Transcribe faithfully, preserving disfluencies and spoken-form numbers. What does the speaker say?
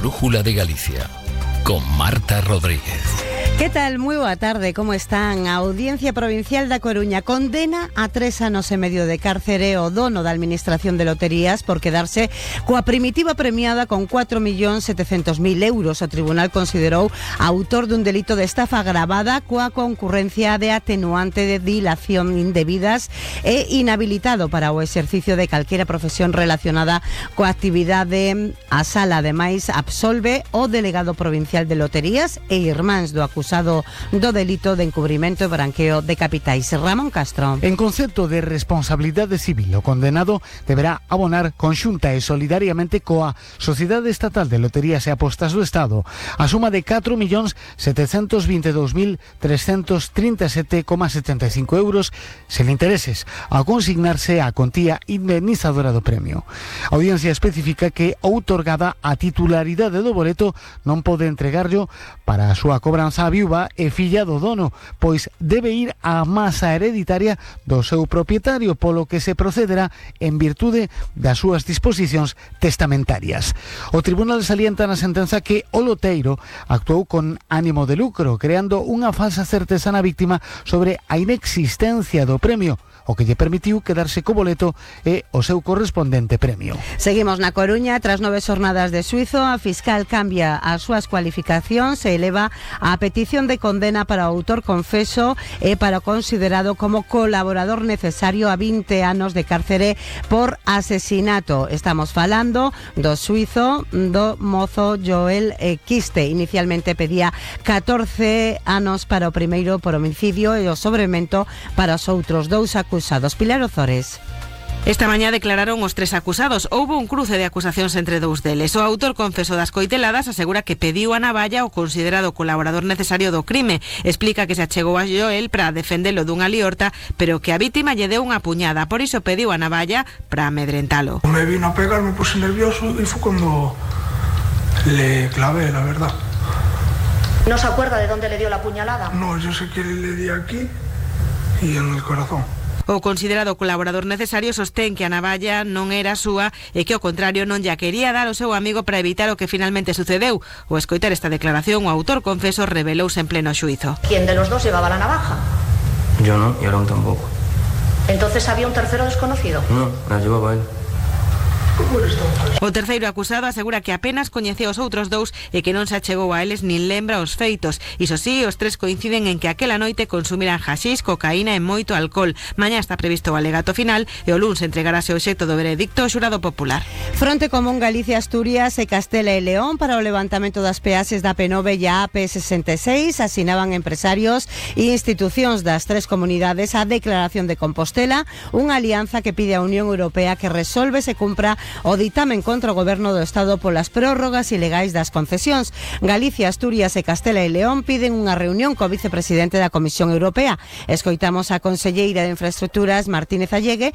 Brújula de Galicia, con Marta Rodríguez. Que tal? Moi boa tarde, como están? A Audiencia Provincial da Coruña condena a tres anos e medio de cárcere o dono da Administración de Loterías por quedarse coa primitiva premiada con cuatro millóns setecientos mil euros. O tribunal considerou autor dun delito de estafa agravada coa concurrencia de atenuante de dilación indebidas e inhabilitado para o exercicio de calquera profesión relacionada coa actividade. A sala, ademais, absolve o delegado provincial de Loterías e irmáns do acusado do delito de encubrimento e branqueo de capitais. Ramón Castro. En concepto de responsabilidade civil, o condenado deberá abonar conxunta e solidariamente coa Sociedade Estatal de Loterías e Apostas do Estado a suma de catro millóns setecentos vinte e dous mil trescentos trinta e sete coma setenta e cinco euros sen intereses, ao consignarse a contía indemnizadora do premio. A audiencia especifica que outorgada a titularidade do boleto non pode entregarlo para a súa cobranza a viúva e filla do dono, pois debe ir á masa hereditaria do seu propietario, polo que se procederá en virtude das súas disposicións testamentarias. O tribunal salienta na sentenza que o loteiro actuou con ánimo de lucro, creando unha falsa certeza na víctima sobre a inexistencia do premio, o que lle permitiu quedarse co boleto e o seu correspondente premio. Seguimos na Coruña. Tras nove xornadas de xuízo, a fiscal cambia as súas cualificacións e eleva a petición de condena para o autor confeso e para o considerado como colaborador necesario a vinte anos de cárcere por asesinato. Estamos falando do xuízo do mozo Joel Quiste. Inicialmente pedía catorce anos para o primeiro por homicidio e o sobremento para os outros dous acusados. Pilar Ozores. Esta mañá declararon os tres acusados. Houbo un cruce de acusacións entre dous deles. O autor confeso das coiteladas asegura que pediu a navalla o considerado colaborador necesario do crime. Explica que se achegou a Joel para defendelo dunha liorta, pero que a vítima lle deu unha puñada. Por iso pediu a navalla para amedrentalo. Me vino a pegar, me puse nervioso y fue cuando le clavé, la verdad. ¿No se acuerda de dónde le dio la puñalada? No, yo sé que le di aquí y en el corazón. O considerado colaborador necesario sostén que a navalla non era súa e que ao contrario non lla quería dar ao seu amigo para evitar o que finalmente sucedeu. O escoitar esta declaración, o autor confeso revelouse en pleno xuízo. ¿Quién de los dos llevaba la navaja? Yo no, y Aaron tampoco. ¿Entonces había un tercero desconocido? No, la llevaba él. O terceiro acusado asegura que apenas coñeceu os outros dous e que non se achegou a eles nin lembra os feitos. Iso sí, os tres coinciden en que aquela noite consumiran haxix, cocaína e moito alcohol. Mañá está previsto o alegato final e o luns entregarase o obxecto do veredicto ao xurado popular. Fronte Común Galicia, Asturias e Castela e León para o levantamento das peaxes da P nove e a A P sesenta e seis asinaban empresarios e institucións das tres comunidades a Declaración de Compostela, unha alianza que pide á Unión Europea que resolve se cumpra o ditamen contra o Goberno do Estado polas prórrogas ilegais das concesións. Galicia, Asturias e Castela e León piden unha reunión co vicepresidente da Comisión Europea. Escoitamos a conselleira de Infraestructuras, Martínez Allegue,